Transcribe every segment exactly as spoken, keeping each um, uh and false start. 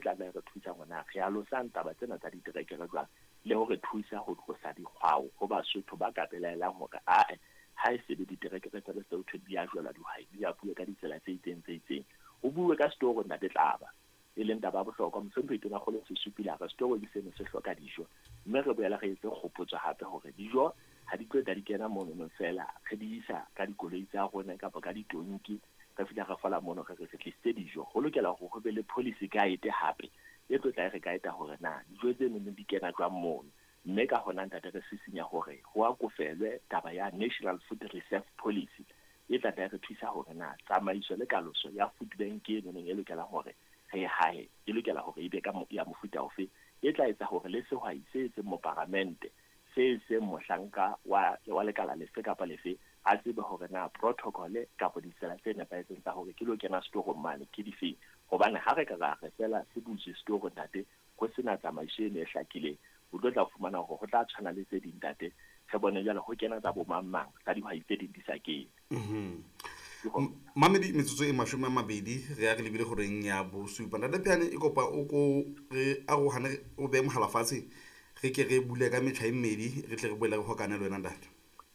tla tla re thusa hore re alosang taba tsena tsa diterekere jwang, le hore thusa ho tlosa dikgwao ho Basotho ba ka belaelang hore ae ha e se be diterekere tsa Lesotho di a jwala dihwai di a bue ka ditsela tse itseng tse itseng. Ho bue ka setoro ntate Tlaba, e leng taba ya bohlokwa. Mohlomphehi Tonakgolo se supile hore setoro ke seno se hloka dijo, mme re boela re etse kgopotso hape hore dijo ha di tlo tla di kena mono fela, re di isa ka dikoloi tsa rona kapa ka ditonki, re fihla re fola mono re re re tlisitse dijo. Ho lokela hore ho be le policy guide hape e tlo tla e re guide hore na dijo tseno di kena jwang mono. Mme ka hona ntate re sisinya hore ho akofelwe taba ya National Food Reserve Policy e tla tla re thusa hore na tsamaiso le kaloso ya food bank e neng e lokela hore re hae e lokela hore e be ka ya mofuta ofe, e tla etsa hore le sehwai se seng moparamente se seng mohlanka wa wa lekala lefe kapa lefe a tsebe hore na protocol kapa ditsela tse nepahetseng tsa hore ke lo kena setorong mane ke difeng. Hobane ha re ka ra re fela se butswe setoro ntate, ho sena tsamaiso eno e hlakileng, o tlo tla fumana hore ho tla tshwana le tse ding ntate, re bone jwale ho kena tsa bo mang mang tsa dihwai tse ding di sa kene. Mamedi metsotso e mashome a mabedi re ya re lebile horeng ya bosupa. Ntate Phehane, e kopa o ko re arohane, o behe mohala fatshe, re ke re bule ka metjha e mmedi, re tle re boele re hokane le wena ntate.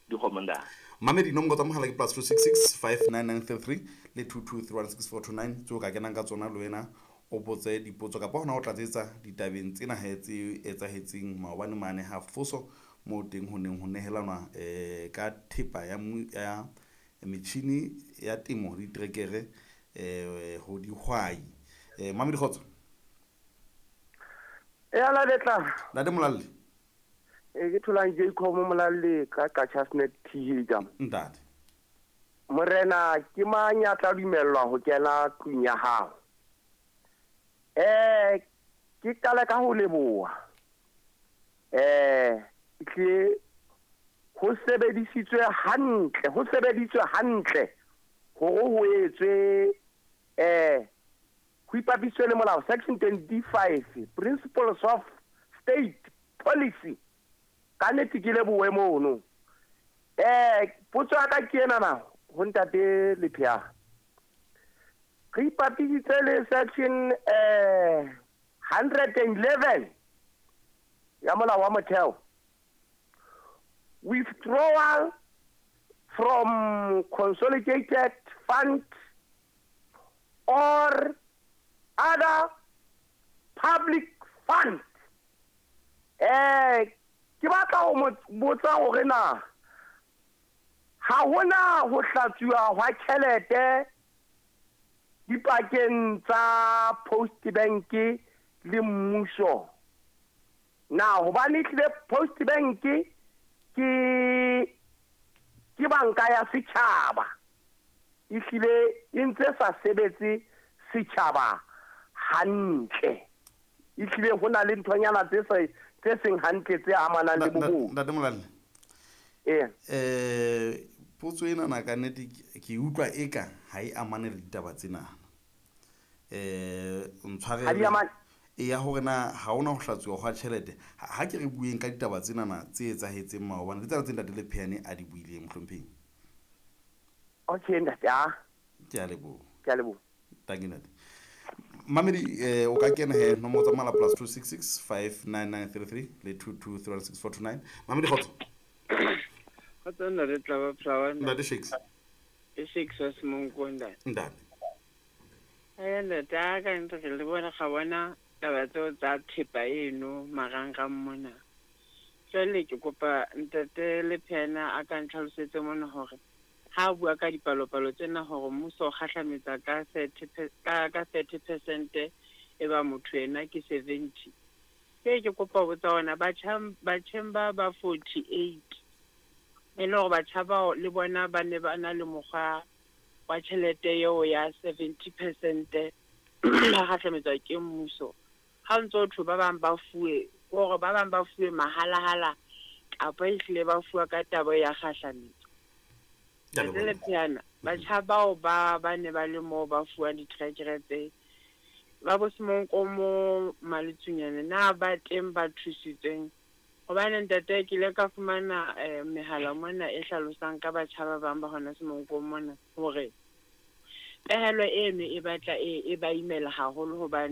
Dikgomo ntate. Mamedi, nomoro tsa mohala ke plus two six six five nine nine three three le two two three one six four two nine tseo ka kenang ka tsona le wena o botse dipotso kapa hona o tlatsetsa ditabeng tsena he tse etsahetseng maobane mane ha Foso moo teng ho neng ho nehelanwa eh ka thepa ya ya metjhini ya temo le diterekere eh ho dihwai. Eh Mamedi, kgotso. E ala letla. Ntate Molalle. E ke tholang Jacob Molalle ka Qacha's Nek T H jam. Ntate. Morena ke mang ya tla dumellwa ho kena tlung ya hao? Eh ke qala ka ho leboha. Eh ke ho sebedisitswe hantle, ho sebeditswe hantle hore ho etswe eh ho ipapiswe le molao section twenty-five principles of state policy. Ka nnete ke lebohe mono. Eh potso ya ka ke ena na ho ntate Lephea. Re ipapisitse le section eh hundred and eleven ya molao wa motheo. Withdrawal from consolidated fund or other public fund. Eh ke batla ho mo botsa hore na ha hona ho hlatsuwa hwa tjhelete dipakeng tsa Post Bank le mmuso. Na hobane tlile Post Bank ke ke banka ya setjhaba, ehlile e ntse sa sebetse setjhaba hantle, ehlile ho na le nthonyana tse sa tse seng hantle tse amanang le bobodu. Ntate Molalle. Eh. Eh potso ena na ka nnete ke utlwa eka ha e amane le ditaba tsena. Eh ntshwarele. E ya hore na ha hona ho hlatsuwa hwa tjhelete. Ha ke re bueng ka ditaba tsena na tse etsahetseng maobane le tsena tse ntate Lephehane a di buileng mohlomphehi. Okay ntate, ah. Ke a leboha. Ke a leboha. Thank you ntate. Mamedi, eh o ka kena he nomoro tsa mohala plus two six six five nine nine three three le two two three one six four two nine. Mamedi, kgotso. Kgotso ntate Tlaba Flower. Ntate Shakes. E Shakes wa Semonko ntate. Ntate. Eh ntate, a ka ntse re le bona ga bona taba tseo tsa thepa eno marangrang mona. Jwale ke kopa ntate Lephehane a ka ntlhalosetse mona hore ha bua ka dipalopalo tsena hore mmuso o kgahlametsa ka thirty ka ka thirty percent e ba motho ena ke seventy. Ke ke kopa ho botsa hona batjha batjheng ba ba forty-eight e le hore batjha bao le bona ba ne ba na le mokgwa wa tjhelete eo ya seventy percent ba kgahlametswa ke mmuso. Ha ntso thwe ba bang ba fuwe hore ba bang ba fuwe mahalahala kapa ehlile ba fuwa ka taba ya kgahlametso. Lephehane, batjha bao ba ba ne ba le moo ba fuwa diterekere tse ba bo Semonko mo Maletsunyane na ba teng ba thusitsweng? Hobane ntate ke ile ka fumana eh, mehala mona e hlalosang ka batjha ba bang ba hona Semonko mona hore pehelo eno e batla e, e ba imela haholo hobane